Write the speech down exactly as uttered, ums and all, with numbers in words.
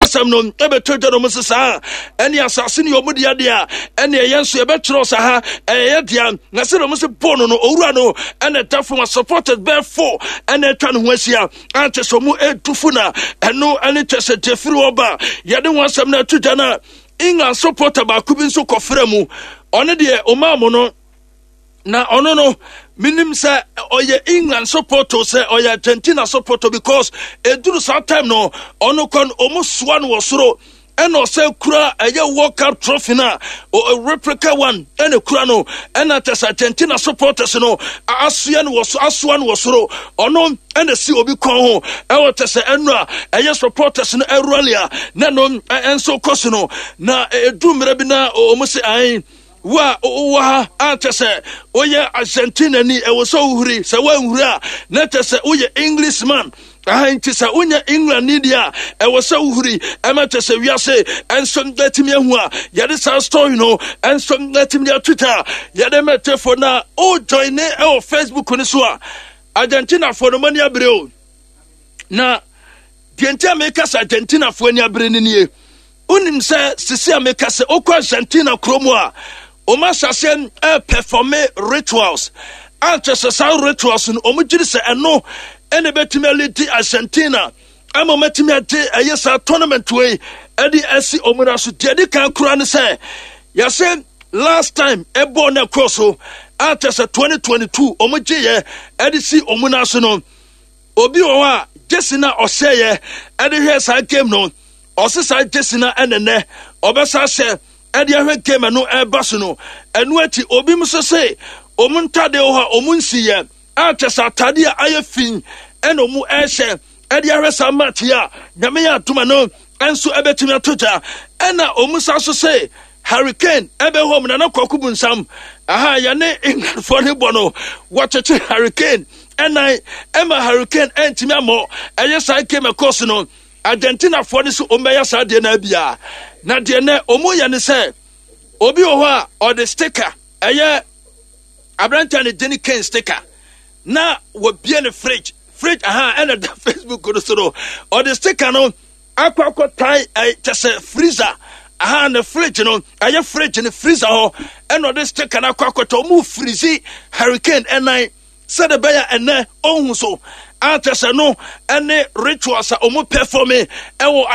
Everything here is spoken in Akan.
Asɛm no ɛbɛtɔ dwa no mu sɛ saa ɛne asase ne ɔmu dea deɛ a ɛne ɛyɛ nso yɛbɛkyerɛw sa ha ɛyɛ dea. Na sɛ ɔmo sɛ bɔɔl no no owura no ɛna ɛda fam a, supporters bɛɛ fo ɛna atwa ne ho ahyia ankyɛ sɛ ɔmo ɛtu fo, na ɛno ɛne kyɛ sɛ deɛ firi hɔ ba yɛde ho asɛm no ato dwa. No England supporter baako bi nso kɔfrɛ mu, ɔno deɛ ɔmaa mo no na ɔno no menim sɛ ɔyɛ England supporter sɛ ɔyɛ Argentina supporter, because ɛduru saa time no ɔno kɔ no ɔmo soa no wɔ soro, ɛna ɔsɛ kura ɛyɛ World Cup trophy na o replica one ɛna kura no, ɛna kyɛ sɛ Argentina supporters no asoa no wɔ so, asoa no wɔ soro. Ɔno ɛna si obi kɔn ho ɛwɔ kyɛ sɛ ɛno a ɛyɛ supporters no ɛrally a na no ɛnso kɔ so no. Na ɛduru mmerɛ bi na ɔmo sɛ ayi wo a wowɔ ha a kyɛ sɛ woyɛ Argentina ni, ɛwɔ sɛ wohuri. Sɛ woanhuri a, na kyɛ sɛ woyɛ Englishman aha. Nti sɛ wonya England ni deɛ a, ɛwɔ sɛ wohuri ɛma kyɛ sɛ wiase ɛnso atumi ahu a yɛde saa story no ɛnso atumi de atwita a yɛde mɛtɛfo. Na wojoin ne ɛwɔ Facebook no so a, Argentinafoɔ no mani abere o. Na deɛ nti a meka sɛ Argentinafoɔ ani abere no nie: wonim sɛ sisi a meka sɛ wokɔ Argentina kurom a, ɔma ahyɛseɛ ɛperform rituals a kyɛ sɛ saa rituals no ɔmo gyiri sɛ ɛno ɛna ɛbɛtumi alead Argentina ama ɔmatumi agye ɛyɛ saa tournament wei ɛde asi ɔmo na so. Deɛ di kan kora ne sɛ yɛsɛ last time ɛbɔɔ no ɛkɔ so a kyɛ sɛ twenty twenty-two ɔmo gyeeɛ ɛde si ɔmo na so no, obi wɔ hɔ a jersey na ɔhyɛeɛ ɛde hwɛ saa game no, ɔse saa jersey na ɛnɛnɛ ɔbɛsa hyɛ ɛde ahwɛ game no ɛba so no. Ɛno akyi, obi nso se ɔmo ntadeɛ wɔ hɔ a ɔmo nsiyɛ a kyɛ sɛ atadeɛ a ayɛ fi ɛna ɔmo ɛhyɛ ɛde ahwɛ saa match yi a Nyame yɛ atoma no ɛnso ɛbɛtumi ato gya. Ɛna ɔmo sa so se Harry Kane ɛbɛ hɔ mu Nana Kwaku Bunsam aha yɛne Englandfoɔ ne bɔ no, wɔkyekye Harry Kane ɛnan ɛma Harry Kane ɛntumi ammɔ ɛyɛ saa game ɛkɔɔ so no. Argentinafoɔ no so ɔmo bɛyɛ saa deɛ no abia. Na deɛ nɛ ɔmo yɛ ne sɛ obi wɔ hɔ a ɔde sticker, ɛyɛ aberanteɛ ne Jenny Kane sticker, na wɔbie ne fridge fridge aha ɛna da Facebook no so no, ɔde sticker no akɔ akɔtae ɛ kyɛ sɛ freezer aha ne fridge no, ɛyɛ fridge ne freezer hɔ, ɛna ɔde sticker no akɔ akɔtɔ. Ɔmo freeze Harry Kane ɛnan sɛde bɛyɛ ɛnɛ ɔhu so akyɛ sɛ no ɛne rituals a ɔmo perform ɛwɔ.